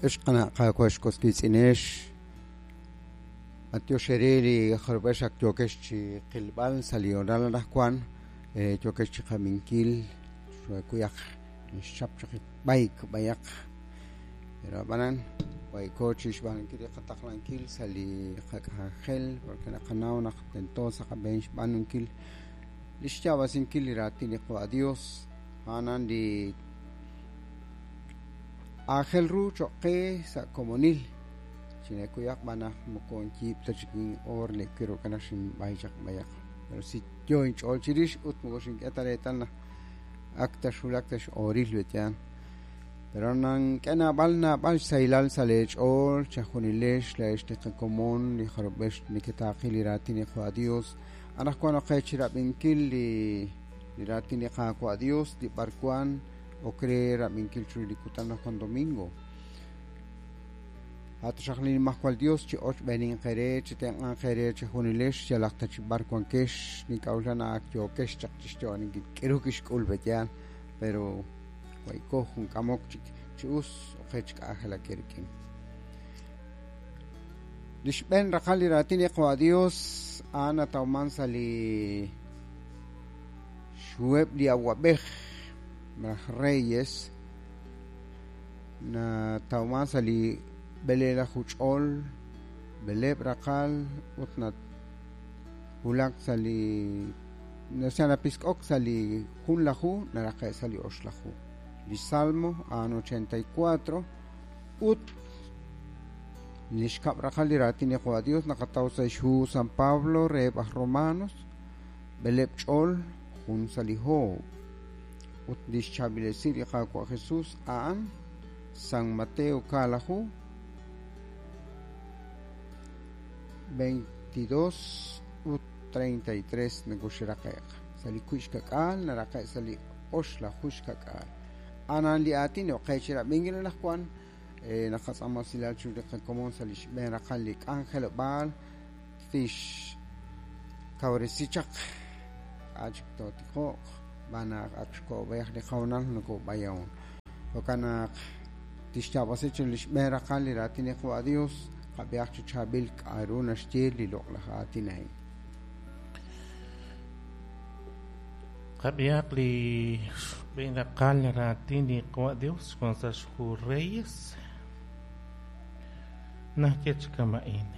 Ex qana' Qaawa' ex was wiitz'inex, b'antiox eere li jarub'ex ak yookex chi qilb'al sa' li hoonal anaqwan, yookex chi qab'inkil xwekuyaq xchap chaq b'ayk b'ayaq, pero ab'anan waykoo chi xb'aanunkil li qataqlankil sa' li qak'anjel porque naqanaw naq tento sa' qab'een xb'aanunkil li xyaab'asinkil li raatin li Qaawa' Dios, a'anan li aajel ru choq' qe sa' komonil. Chinekuyaq b'an naq moko nyiib' ta chik in'oor li kiruk'an naq xinb'ay chaq b'ayaq. Pero si yo inch'ool chirix ut moko xink'e ta reetal naq ak ta xwulak ta x'ooril betyaan. Pero nank'e naab'al naab'al xsahilal sa' lee ch'ool chejunilex laa'ex li qakomon li jarub'ex neketaaqi li raatin li Qaawa' Dios. Anaqwan ok qe chirab'inkil li raatin li Qaawa' Dios li b'arwan ok re rab'inkil chiru li kutan anaqwan domingo. A' taxaq li Nimajwal Dios chi ochb'eeninq eere, chi tenq'anq eere chejunilex yalaq ta chi b'ar wankex. Nink'a'uxla naq ak yookex chaq chi xyo'oninkil k'aru kixk'ul pe'yaal, pero waykoo jun k'amok chik chi us ok qe chi k'anjelak eerik'in. Li xb'een raqal li raatin li Qaawa' Dios a'an natawman sa' li xhuheb' li awab'ej malaj reyes, natawman sa' li b'eleelaju ch'ol, b'eleeb' raqal ut nawulak sa' li napisk'ok sa' li junlaju naraqe' sa' li oxlaju. Li Salmo a'an 84 ut li xkab' raqal li raatin li Qaawa' Dios naqataw sa' xhu San Pablo reheb' aj Romanos, b'eleeb' ch'ol, jun sa' li hoob'. Ut li xchaab'ilesi li Qaawa' Jesus a'an San Mateo kaalaju, 22 ut 33 nakoxraqe'q. Sa' li wiib' xka'k'aal naraqe' sa' li oxlaju xka'k'aal. A'an li aatin ok qe chi rab'inkil anaqwan, naqatz'aama usilal chiru li qakomon sa' li xb'een raqal li k'anjelob'aal tixkawresi chaq k'a' chik tootiqo'q xb'aan naq ak xko'b'ej li qahoonal nokob'ayon. Jo'kan naq tixyaab'asi chiru li xb'een raqal li raatin li Qaawa' Dios, qab'ihaq chi chaab'il k'a'ru naxye li loq'laj aatin a'in. Qab'ihaq li xb'een raqal raatin li Qaawa' Dios wan sa' xhu Reyes. Naxye chi kama'in.